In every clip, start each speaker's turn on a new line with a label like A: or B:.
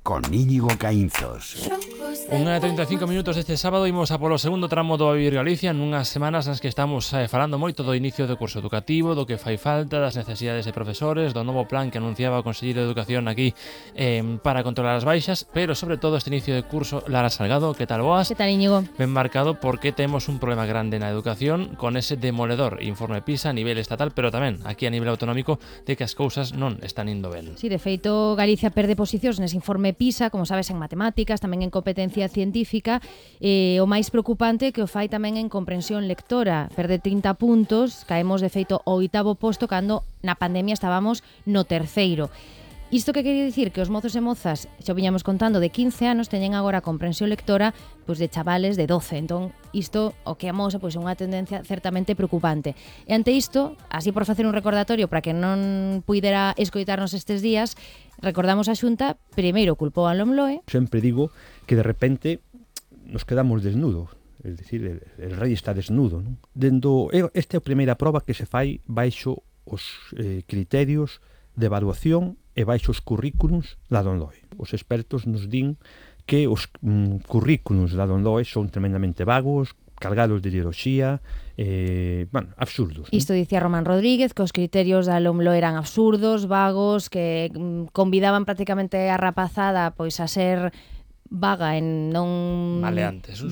A: con Íñigo Caínzos.
B: 1:35 deste sábado imos a polo segundo tramo do Vivir Galicia nunhas semanas nas que estamos falando moito do inicio do curso educativo, do que fai falta, das necesidades de profesores, do novo plan que anunciaba o Conselleiro de Educación aquí para controlar as baixas, pero sobre todo este inicio de curso. Lara Salgado, que tal boas?
C: Que tal, Íñigo?
B: Ben marcado porque temos un problema grande na educación con ese demoledor informe PISA a nivel estatal, pero tamén aquí a nivel autonómico, de que as cousas non están indo ben.
C: Sí, de feito, Galicia perde posicións nese informe PISA, como sabes, en matemáticas, tamén en competencia científica, o máis preocupante que o fai tamén en comprensión lectora. Perde 30 puntos, caemos de feito ao 8º posto cando na pandemia estábamos no 3º. Isto que quería dicir que os mozos e mozas, xa viñamos contando, de 15 anos teñen agora comprensión lectora pois de chavales de 12. Entón, isto o que amosa pois é unha tendencia certamente preocupante. E ante isto, así por facer un recordatorio para que non puidera escoitarnos estes días, recordamos a Xunta, primeiro culpou a LOMLOE.
D: Sempre digo que de repente nos quedamos desnudos, es decir, el rei está desnudo, non? Esta é a primeira proba que se fai baixo os criterios de evaluación e baixo os currículums da LOMLOE. Os expertos nos din que os currículums da LOMLOE son tremendamente vagos, cargados de ideoloxía, absurdos.
C: Isto dicía Román Rodríguez, que os criterios da LOMLOE eran absurdos, vagos, que convidaban prácticamente a rapazada pois a ser vaga en non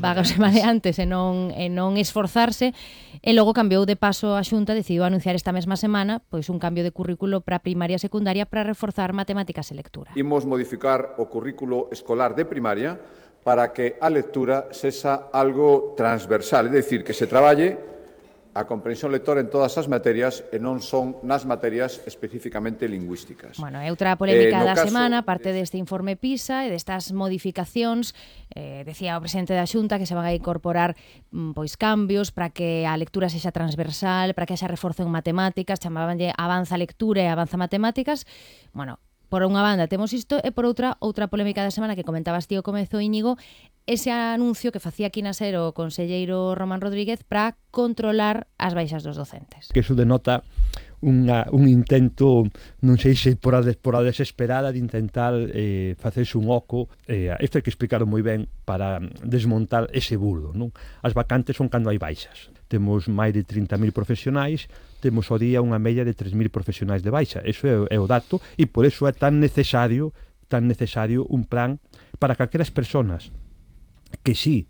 C: vagas e maleantes e non esforzarse, e logo cambiou de paso a Xunta, decidiu anunciar esta mesma semana pois un cambio de currículo para primaria e secundaria para reforzar matemáticas e lectura.
E: Imos modificar o currículo escolar de primaria para que a lectura sexa algo transversal, é dicir, que se traballe a comprensión lectora en todas as materias e non son nas materias especificamente lingüísticas.
C: Bueno, é outra polémica da semana, parte deste informe PISA e destas modificacións. Decía o presidente da Xunta que se van a incorporar pois cambios para que a lectura sexa transversal, para que haxa reforzo en matemáticas, chamabanlle avanza lectura e avanza matemáticas. Bueno, por unha banda temos isto e por outra polémica da semana que comentabas ti ao comezo, Íñigo, ese anuncio que facía aquí na SER o conselleiro Román Rodríguez para controlar as baixas dos docentes.
D: Que iso denota un intento, non sei se por a desesperada de intentar facerse un oco. Isto hai que explicarlo moi ben para desmontar ese bulo, non? As vacantes son cando hai baixas. Temos máis de 30.000 profesionais, temos ao día unha media de 3.000 profesionais de baixa. Eso é o dato, e por eso é tan necesario un plan para que aquelas persoas que sí,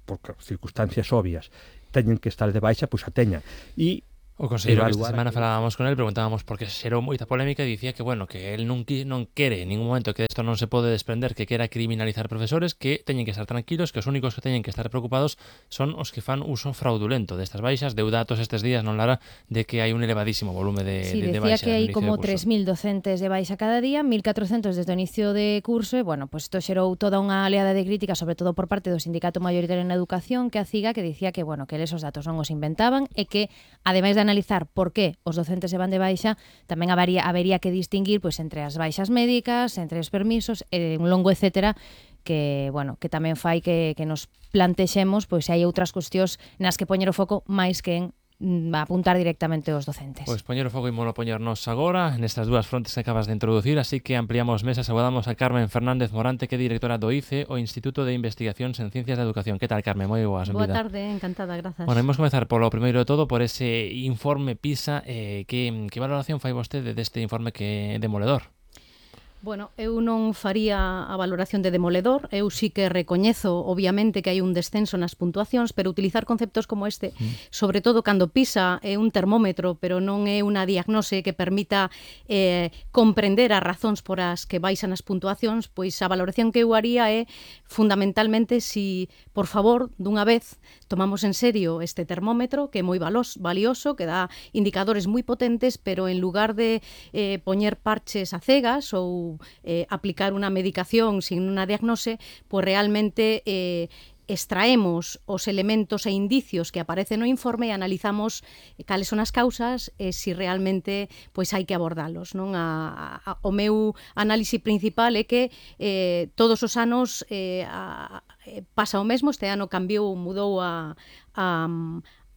D: por circunstancias obvias, teñen que estar de baixa, pois a teñan. E
B: o conselleiro que esta semana falábamos con él, preguntábamos porque xerou moita polémica e dicía que, bueno, que él non quere en ningún momento, que isto non se pode desprender, que quera criminalizar profesores, que teñen que estar tranquilos, que os únicos que teñen que estar preocupados son os que fan uso fraudulento destas baixas. Deu datos estes días, non, Lara, de que hai un elevadísimo volume de baixas.
C: Sí, decía que hai como 3.000 docentes de baixa cada día, 1.400 desde o inicio de curso, e, bueno, pues isto xerou toda unha oleada de crítica, sobre todo por parte do Sindicato Maioritario en Educación, que a CIGA, que dicía que, bueno, que esos datos non os inventaban e que, ademais de analizar por que os docentes se van de baixa, tamén habería que distinguir pois entre as baixas médicas, entre os permisos e un longo etcétera, que, bueno, que tamén fai que nos plantexemos pois se hai outras cuestións nas que poñer o foco máis que en apuntar directamente aos docentes.
B: Pois poñer o foco e molo poñernos agora nestas dúas frontes que acabas de introducir, así que ampliamos mesas. Saludamos a Carmen Fernández Morante, que é directora do ICE, o Instituto de Investigacións en Ciencias da Educación. Que tal, Carmen? Moi boas.
F: Boa tarde, encantada, grazas.
B: Bueno, imos comezar polo primeiro de todo por ese informe PISA. Que valoración fai vostede deste informe que é demoledor?
F: Bueno, eu non faría a valoración de demoledor, eu sí que recoñezo, obviamente, que hai un descenso nas puntuacións, pero utilizar conceptos como este, sobre todo cando PISA é un termómetro, pero non é unha diagnose que permita comprender as razóns por as que baixan as puntuacións, pois a valoración que eu haría é, fundamentalmente, si, por favor, dunha vez, tomamos en serio este termómetro, que é moi valioso, que dá indicadores moi potentes, pero en lugar de poñer parches a cegas ou aplicar unha medicación sin unha diagnose, pois realmente extraemos os elementos e indicios que aparecen no informe e analizamos cales son as causas e se realmente pois hai que abordalos, non? O meu análise principal é que todos os anos pasa o mesmo. Este ano cambiou, mudou a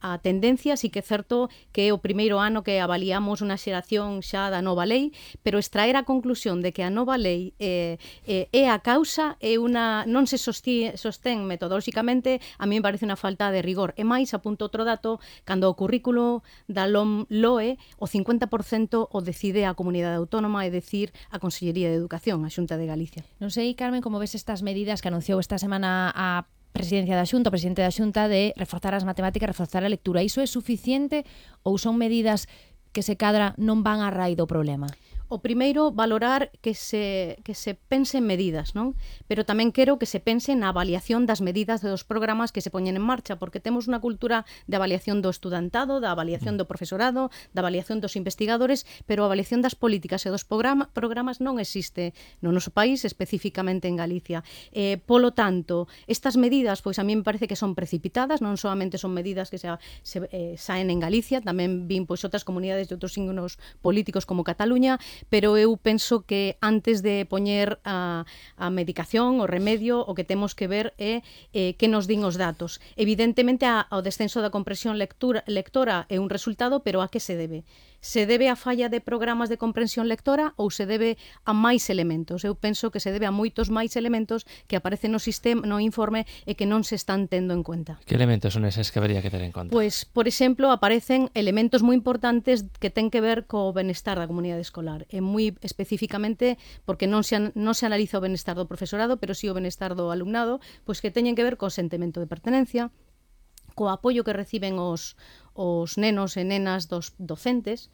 F: a tendencia, sí que é certo que é o primeiro ano que avaliamos unha xeración xa da nova lei, pero extraer a conclusión de que a nova lei é a causa, non se sostén metodolóxicamente, a mí me parece unha falta de rigor. E máis, apunto outro dato, cando o currículo da LOE, o 50% o decide a comunidade autónoma, é dicir, a Consellería de Educación, a Xunta de Galicia.
C: Non sei, Carmen, como ves estas medidas que anunciou esta semana a Presidencia da Xunta, o presidente da Xunta, de reforzar as matemáticas, reforzar a lectura. Iso é suficiente ou son medidas que se cadra non van a raíz do problema?
F: O primeiro, valorar que se pense en medidas, non? Pero tamén quero que se pense na avaliación das medidas dos programas que se poñen en marcha, porque temos unha cultura de avaliación do estudantado, da avaliación do profesorado, da avaliación dos investigadores, pero a avaliación das políticas e dos programas non existe no noso país, especificamente en Galicia. Polo tanto, estas medidas, pois a mí me parece que son precipitadas, non solamente son medidas que saen en Galicia, tamén vin pois outras comunidades de outros signos políticos como Cataluña, pero eu penso que antes de poñer a medicación, o remedio, o que temos que ver é que nos din os datos. Evidentemente, ao descenso da comprensión lectora é un resultado, pero a que se debe? Se debe a falla de programas de comprensión lectora ou se debe a máis elementos? Eu penso que se debe a moitos máis elementos que aparecen no sistema, no informe e que non se están tendo en conta.
B: Que elementos son eses que habería que ter en conta?
F: Pois, por exemplo, aparecen elementos moi importantes que ten que ver co benestar da comunidade escolar. E moi especificamente, porque non se analiza o benestar do profesorado, pero si o benestar do alumnado, pois que teñen que ver co sentimento de pertenencia, co apoio que reciben os nenos e nenas dos docentes.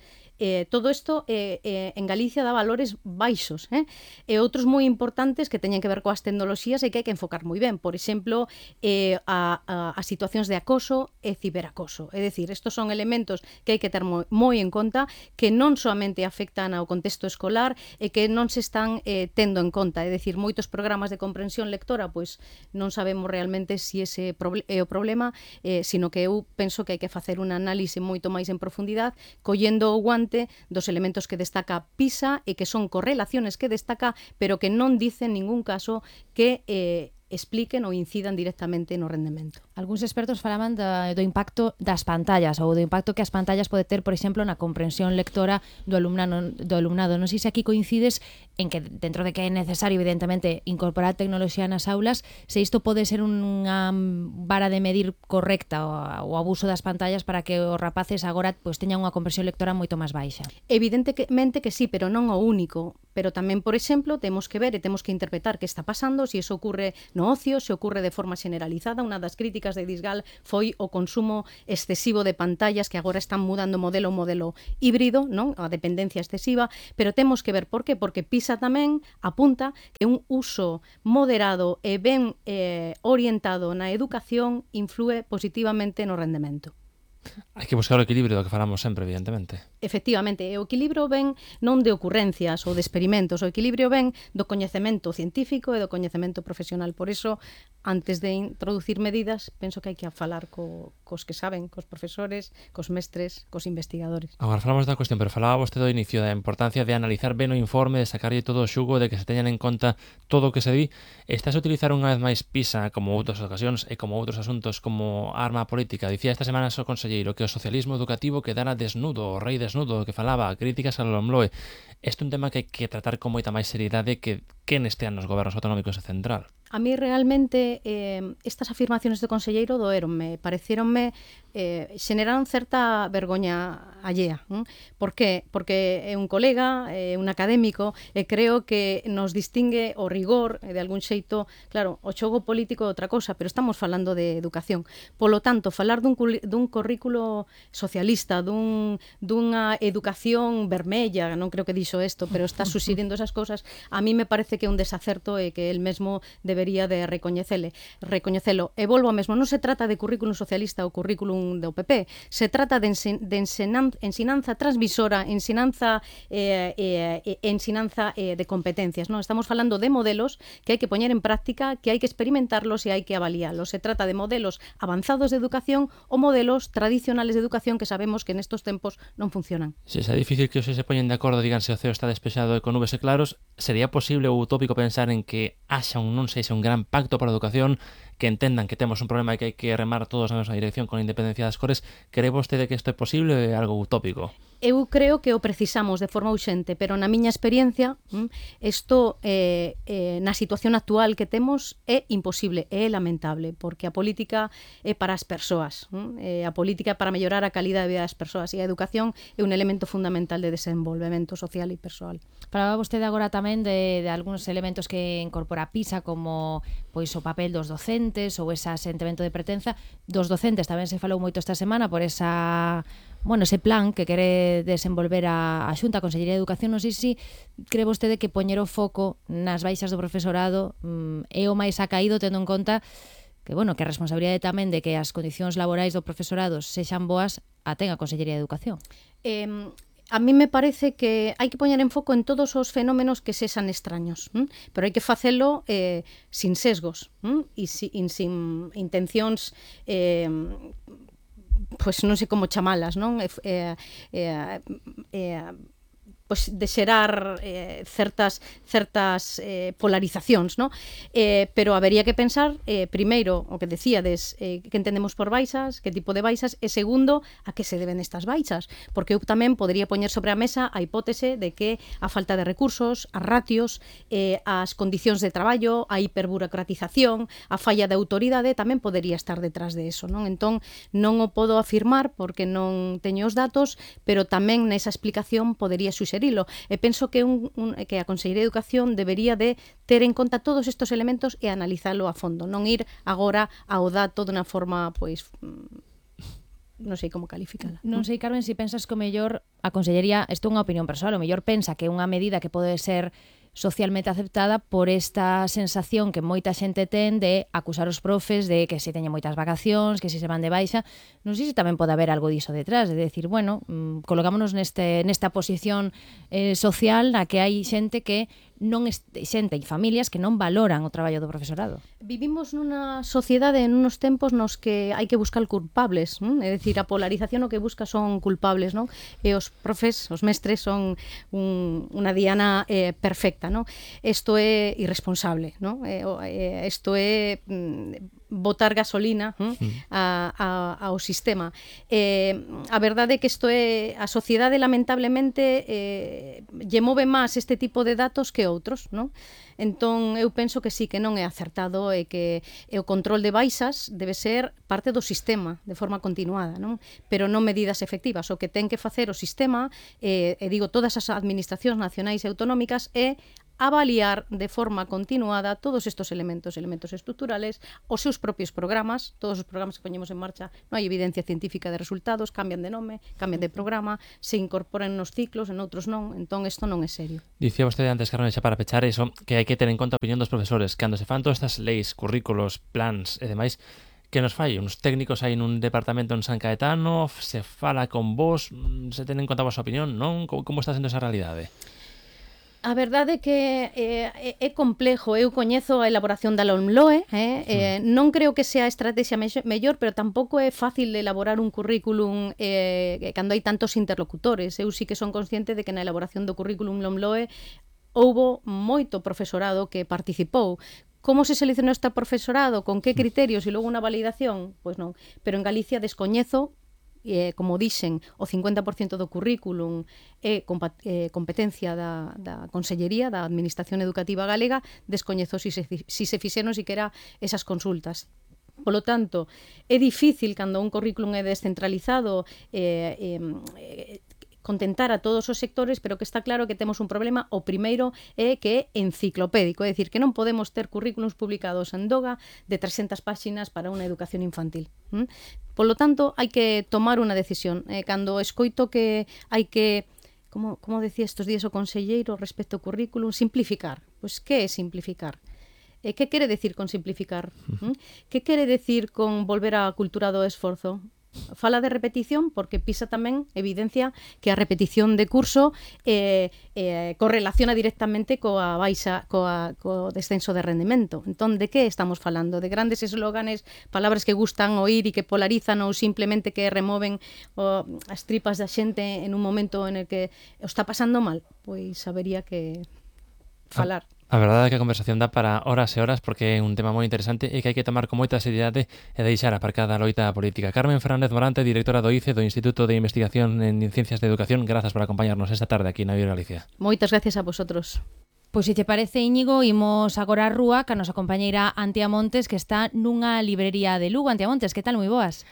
F: Todo isto en Galicia dá valores baixos, e outros moi importantes que teñen que ver coas tecnoloxías e que hai que enfocar moi ben. Por exemplo, as situacións de acoso e ciberacoso. É dicir, estos son elementos que hai que ter moi en conta, que non solamente afectan ao contexto escolar e que non se están tendo en conta. É dicir, moitos programas de comprensión lectora, pois non sabemos realmente se ese é o problema, sino que eu penso que hai que facer unha análise moito máis en profundidade, collendo o guante dos elementos que destaca PISA e que son correlaciones que destaca, pero que non dicen en ningún caso que expliquen ou incidan directamente no rendemento.
C: Algúns expertos falaban do impacto das pantallas ou do impacto que as pantallas pode ter, por exemplo, na comprensión lectora do alumnado. Non sei se aquí coincides en que, dentro de que é necesario, evidentemente, incorporar tecnoloxía nas aulas, se isto pode ser unha vara de medir correcta o abuso das pantallas para que os rapaces agora pois teñan unha comprensión lectora moito máis baixa.
F: Evidentemente que sí, pero non o único. Pero tamén, por exemplo, temos que ver e temos que interpretar que está pasando, se iso ocurre no ocio, se ocurre de forma generalizada. Unha das críticas de Disgal foi o consumo excesivo de pantallas, que agora están mudando o modelo híbrido, non? A dependencia excesiva, pero temos que ver por qué, porque PISA tamén apunta que un uso moderado e ben orientado na educación inflúe positivamente no rendemento.
B: Hai que buscar o equilibrio do que falamos sempre, evidentemente.
F: Efectivamente, o equilibrio ven non de ocurrencias ou de experimentos, o equilibrio ven do coñecemento científico e do coñecemento profesional. Por iso, antes de introducir medidas, penso que hai que falar cos que saben, cos profesores, cos mestres, cos investigadores.
B: Agora falamos da cuestión, pero falaba vostede do inicio da importancia de analizar ben o informe, de sacarlle todo o xugo, de que se teñan en conta todo o que se di. Estás a utilizar unha vez máis PISA como outras ocasións e como outros asuntos como arma política. Dicía esta semana o conselleiro que o socialismo educativo quedara desnudo, o rei desnudo, que falaba, críticas ao LOMLOE. Este é un tema que hai que tratar con moita máis seriedade que estean nos gobernos autonómicos e central.
F: A mí realmente estas afirmaciones do conselleiro doeronme, parecieronme, xeneraron certa vergoña allea. Por qué? Porque é un colega, un académico, e creo que nos distingue o rigor, de algún xeito, claro, o xogo político é outra cosa, pero estamos falando de educación. Polo tanto, falar dun currículo socialista, dunha educación vermella, non creo que dixo isto, pero está suxirindo esas cosas, a mí me parece que é un desacerto e que el mesmo debería de recoñecelo. E volvo ao mesmo, non se trata de currículum socialista ou currículum do PP, se trata de ensinanza transmisora, ensinanza de competencias. Non estamos falando de modelos que hai que poñer en práctica, que hai que experimentarlos e hai que avaliarlos. Se trata de modelos avanzados de educación ou modelos tradicionales de educación que sabemos que nestos tempos non funcionan.
B: Se é difícil que os se poñen de acordo, digan se o ceo está despexado e con nubes e claros, sería posible ou utópico pensar en que haxa un non sei haxa un gran pacto para a educación, que entendan que temos un problema e que hai que remar todos na mesma dirección con a independencia das cores. Cree vostede que isto é posible ou é algo utópico?
F: Eu creo que o precisamos de forma urxente, pero na miña experiencia isto na situación actual que temos é imposible, é lamentable, porque a política é para as persoas, a política é para mellorar a calidad de vida das persoas e a educación é un elemento fundamental de desenvolvemento social e persoal.
C: Falaba vostede agora tamén de algúns elementos que incorpora PISA, como pois o papel dos docentes ou ese sentimento de pertenza. Dos docentes tamén se falou moito esta semana por ese plan que quere desenvolver a Xunta, a Consellería de Educación. Non sei se cree vostede que poñer o foco nas baixas do profesorado é o máis acaído, tendo en conta que, que a responsabilidade tamén de que as condicións laborais do profesorado sexan boas a ten a Consellería de Educación.
F: A mí me parece que hai que poñer en foco en todos os fenómenos que sexan extraños, pero hai que facelo sin sesgos e sin intencións pois non sei como chamalas, non? Pois de xerar certas polarizacións, non? Pero habería que pensar, primeiro, o que decíades, que entendemos por baixas, que tipo de baixas, e segundo, a que se deben estas baixas, porque eu tamén podería poñer sobre a mesa a hipótese de que a falta de recursos, as ratios, as condicións de traballo, a hiperburocratización, a falla de autoridade tamén podería estar detrás de eso, non? Entón, non o podo afirmar porque non teño os datos, pero tamén nesa explicación podería suxerilo. E penso que que a Consellería de Educación debería de ter en conta todos estes elementos e analizalo a fondo, non ir agora ao dato de unha forma, pois, non sei como calificala.
C: Non sei, Carmen, se pensas que o mellor a Consellería, isto é unha opinión persoal, o mellor pensa que é unha medida que pode ser socialmente aceptada por esta sensación que moita xente ten de acusar os profes de que se teñen moitas vacacións, que se van de baixa. Non sei se tamén pode haber algo diso detrás, de decir, colocámonos nesta posición social na que hai xente que xente e familias que non valoran o traballo do profesorado.
F: Vivimos nunha sociedade, en unos tempos nos que hai que buscar culpables, é dicir, a polarización o que busca son culpables, non? E os profes, os mestres son unha diana perfecta, non? Isto é irresponsable, non? Isto é botar gasolina ao sistema. A verdade é que isto é a sociedade lamentablemente lle move máis este tipo de datos que outros, non? Entón eu penso que sí, que non é acertado e que o control de baixas debe ser parte do sistema de forma continuada, non? Pero non medidas efectivas. O que ten que facer o sistema, e digo todas as administracións nacionais e autonómicas, é avaliar de forma continuada todos estes elementos estructurales, os seus propios programas, todos os programas que poñemos en marcha, non hai evidencia científica de resultados, cambian de nome, cambian de programa, se incorporan nos ciclos, en outros non, entón isto non é serio.
B: Dicía vostede antes, Carmen, xa para pechar iso, que hai que ter en conta a opinión dos profesores, cando se fan todas estas leis, currículos, plans e demais, que nos fai? Uns técnicos aí nun departamento en San Caetano, se fala con vos, se ten en conta a vosa opinión, non? Como está sendo esa realidade?
F: A verdade é que é complexo. Eu coñezo a elaboración da LOMLOE, non creo que sea a estrategia mellor, pero tampouco é fácil elaborar un currículum cando hai tantos interlocutores. Eu sí que son consciente de que na elaboración do currículum LOMLOE houbo moito profesorado que participou. Como se seleccionou este profesorado? Con que criterios? E logo unha validación? Pois non. Pero en Galicia descoñezo, como dixen, o 50% do currículum é competencia da Consellería, da Administración Educativa Galega, descoñezo si se fixeron siquera esas consultas. Polo tanto, é difícil cando un currículum é descentralizado contentar a todos os sectores, pero que está claro que temos un problema. O primeiro é que é enciclopédico, é dicir, que non podemos ter currículums publicados en Doga de 300 páxinas para unha educación infantil. Polo tanto, hai que tomar unha decisión. Cando escoito que hai que, como decía estes días o conselleiro respecto ao currículum, simplificar. Pois que é simplificar? Que quere decir con simplificar? Que quere decir con volver á cultura do esforzo? Fala de repetición porque PISA tamén evidencia que a repetición de curso correlaciona directamente coa baixa, co descenso de rendemento. Entón, de que estamos falando? De grandes eslóganes, palabras que gustan oír e que polarizan ou simplemente que removen as tripas da xente en un momento en el que o está pasando mal? Pois habería que falar.
B: A verdade é que a conversación dá para horas e horas porque é un tema moi interesante e que hai que tomar con moita seriedade e deixar aparcada a loita política. Carmen Fernández Morante, directora do ICE, do Instituto de Investigación en Ciencias de Educación, grazas por acompañarnos esta tarde aquí na Viva Galicia.
F: Moitas gracias a vosotros.
C: Pois se te parece, Íñigo, imos agora á rúa ca nosa compañeira Antia Montes, que está nunha librería de Lugo. Antia Montes, que tal? Moi boas.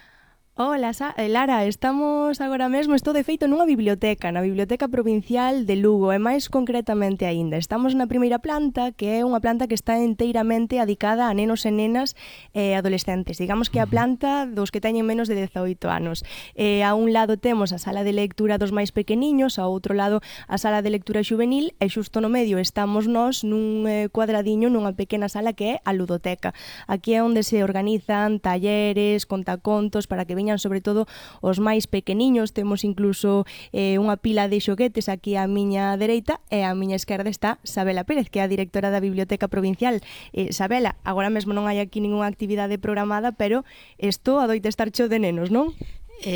G: Hola, Lara, estamos agora mesmo, estou de feito nunha biblioteca, na Biblioteca Provincial de Lugo, e máis concretamente aínda. Estamos na primeira planta, que é unha planta que está enteiramente adicada a nenos e nenas adolescentes. Digamos que a planta dos que teñen menos de 18 anos. A un lado temos a sala de lectura dos máis pequeniños, ao outro lado a sala de lectura xuvenil, e xusto no medio estamos nós nun cuadradiño, nunha pequena sala que é a ludoteca. Aquí é onde se organizan talleres, contacontos, para que veñan sobre todo os máis pequeniños. Temos incluso unha pila de xoguetes aquí á miña dereita, e á miña esquerda está Sabela Pérez, que é a directora da Biblioteca Provincial. Sabela, agora mesmo non hai aquí ningunha actividade programada, pero isto adoita estar cheo de nenos, non?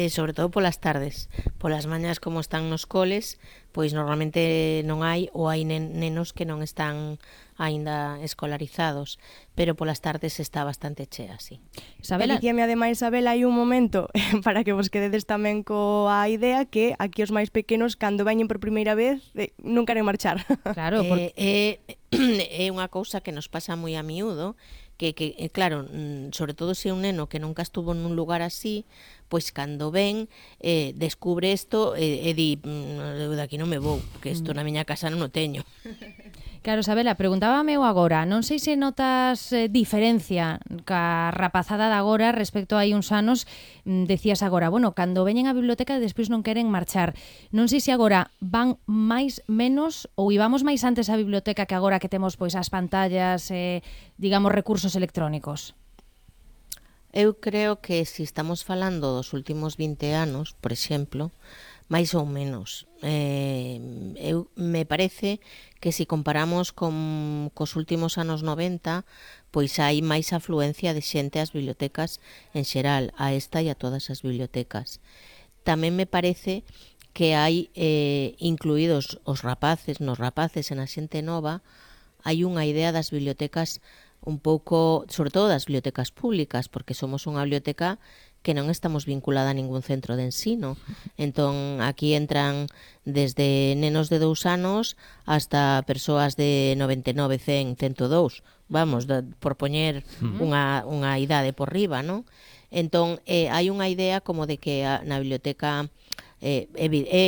H: Sobre todo polas tardes. Polas mañas, como están nos coles, pois normalmente non hai, ou hai nenos que non están aínda escolarizados, pero polas tardes está bastante chea, sí.
G: Sabela, dicíame ademais, Sabela, hai un momento para que vos quededes tamén coa idea que aquí os máis pequenos, cando veñen por primeira vez, non queren marchar.
C: Claro,
H: é unha cousa que nos pasa moi a miúdo, que claro, sobre todo se é un neno que nunca estuvo nun lugar así, pois cando ven, descubre isto e di, eu daqui non me vou, porque isto na miña casa non o teño.
C: Claro, Sabela, preguntábame eu agora, non sei se notas diferencia ca rapazada de agora respecto a hai uns anos, decías agora, bueno, cando veñen á biblioteca despois non queren marchar. Non sei se agora van máis, menos, ou íbamos máis antes á biblioteca que agora que temos pois as pantallas, digamos, recursos electrónicos.
H: Eu creo que se estamos falando dos últimos 20 anos, por exemplo, máis ou menos. Me parece que se comparamos cos últimos anos 90, pois hai máis afluencia de xente ás bibliotecas en xeral, a esta e a todas as bibliotecas. Tamén me parece que hai incluídos os rapaces, nos rapaces e na xente nova, hai unha idea das bibliotecas un pouco, sobre todo das bibliotecas públicas, porque somos unha biblioteca que non estamos vinculada a ningún centro de ensino. Entón, aquí entran desde nenos de 2 anos hasta persoas de 99, 100, 102, vamos, por poñer unha idade por riba, non? Entón, hai unha idea como de que na biblioteca é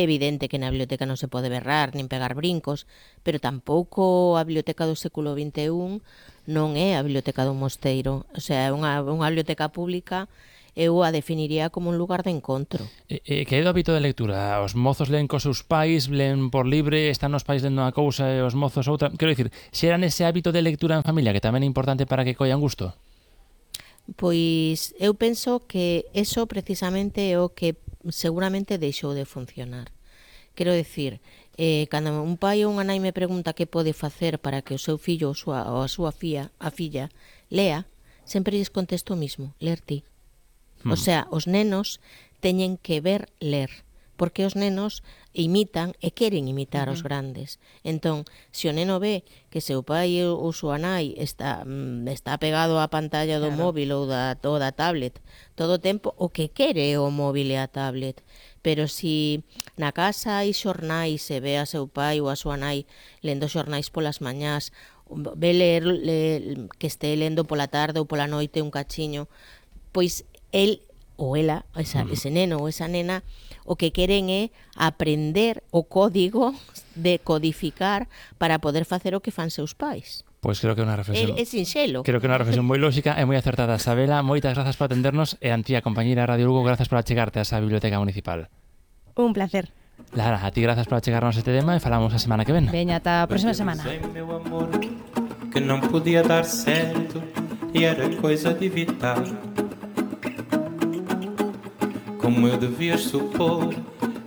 H: evidente que na biblioteca non se pode berrar nin pegar brincos, pero tampouco a biblioteca do século XXI non é a biblioteca dun mosteiro. O sea, é unha biblioteca pública, eu a definiría como un lugar de encontro.
B: Que é do hábito de lectura? Os mozos leen cos seus pais, leen por libre, están os pais lendo unha cousa e os mozos outra? Quero dicir, xeran ese hábito de lectura en familia que tamén é importante para que collan gusto?
H: Pois eu penso que eso precisamente é o que seguramente deixou de funcionar. Quero dicir, cando un pai ou unha nai me pregunta que pode facer para que o seu fillo ou a súa filla lea, sempre lles contesto o mismo, ler ti. O sea, os nenos teñen que ver ler, porque os nenos imitan e queren imitar os grandes. Entón, se o neno ve que seu pai ou súa nai está pegado á pantalla do móvil ou da tablet todo o tempo, o que quere é o móvil e a tablet. Pero se na casa hai xornais e ve a seu pai ou a súa nai lendo xornais polas mañás, ve ler que este lendo pola tarde ou pola noite un cachiño, pois el ou ela, ese neno ou esa nena, o que queren é aprender o código de codificar para poder facer o que fan seus pais.
B: Pois creo que é unha reflexión.
H: É sinxelo.
B: Creo que é unha reflexión moi lógica e moi acertada. Sabela, moitas grazas por atendernos e Antía, compañeira Radio Lugo, grazas por achegarte a esa biblioteca municipal.
G: Un placer.
B: Lara, a ti grazas por achegarnos este tema e falamos a semana que ven.
C: Veña, ata a próxima semana.
I: Meu amor, que não podia dar certo e era coisa de evitar. Como eu devia supor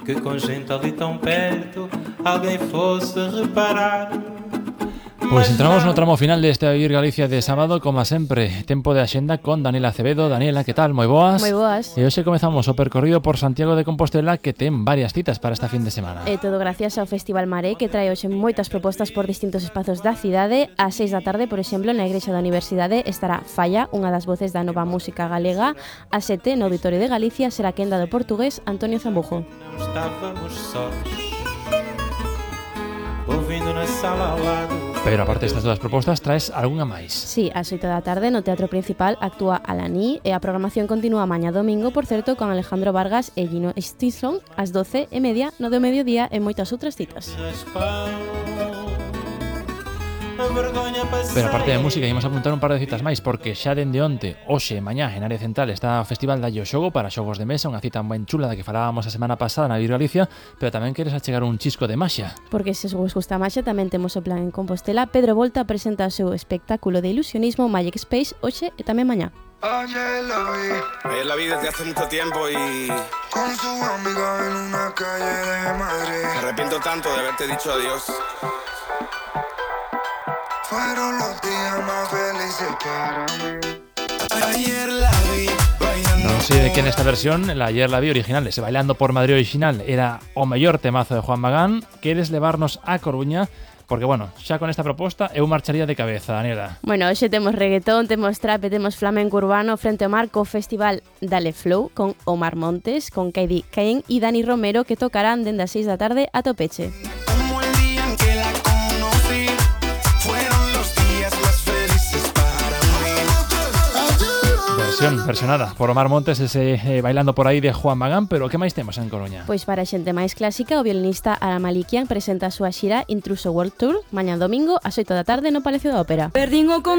I: que com gente ali tão perto alguém fosse reparar.
B: Pois entramos no tramo final deste Vivir Galicia de sábado, como sempre, tempo de axenda con Daniela Acevedo. Daniela, que tal? Moi boas.
J: Moi boas.
B: E hoxe comezamos o percorrido por Santiago de Compostela, que ten varias citas para esta fin de semana.
J: E todo gracias ao Festival Maré, que trae hoxe moitas propostas por distintos espazos da cidade. Ás 6 da tarde, por exemplo, na Igrexa da Universidade estará Falla, unha das voces da nova música galega. Ás 7, no Auditorio de Galicia, será quenda do portugués Antonio Zambujo.
I: Estávamos sós, ouvindo na sala ao lado.
B: Pero aparte destas todas propostas, traes algunha máis?
J: Sí, ás 8 da tarde no Teatro Principal actúa Alaní e a programación continúa mañá domingo, por certo, con Alejandro Vargas e Gino Stisson ás 12:30 no do mediodía e moitas outras citas.
B: Pero aparte de música, íamos a apuntar un par de citas máis, porque xa dende onte, hoxe e mañá, en área central está o Festival da Xogo para xogos de mesa, unha cita ben chula da que falábamos a semana pasada na Vivir Galicia, pero tamén queres achegar un chisco de maxia.
J: Porque se vos gusta a maxia, tamén temos o plan en Compostela. Pedro Volta presenta o seu espectáculo de ilusionismo Magic Space hoxe e tamén mañá.
K: Ayer la vi desde hace mucho tiempo y con su amiga en una calle de Madrid. Me arrepiento tanto de haberte dicho adiós. Fueron los días más felices para mí. Ayer la vi bailando.
B: Non sei de que nesta versión, la Ayer la vi original, ese Bailando por Madrid original, era o mellor temazo de Juan Magán. Queres levarnos a Coruña? Porque, bueno, xa con esta proposta eu marcharía de cabeza, Daniela.
J: Bueno, hoxe temos reggaetón, temos trap e temos flamenco urbano frente ao marco festival Dale Flow con Omar Montes, con Kaidi Kane e Dani Romero, que tocarán dende as 6 da tarde a Topeche.
K: Como el día en que la conocí, fueron los días más felices para mí.
B: Versionada por Omar Montes, ese Bailando por aí de Juan Magán. Pero que máis temos en Coruña?
J: Pois para a xente máis clásica, o violinista Ara Malikian presenta a súa xira Intruso World Tour mañá domingo ás 8 da tarde no Palacio da Ópera.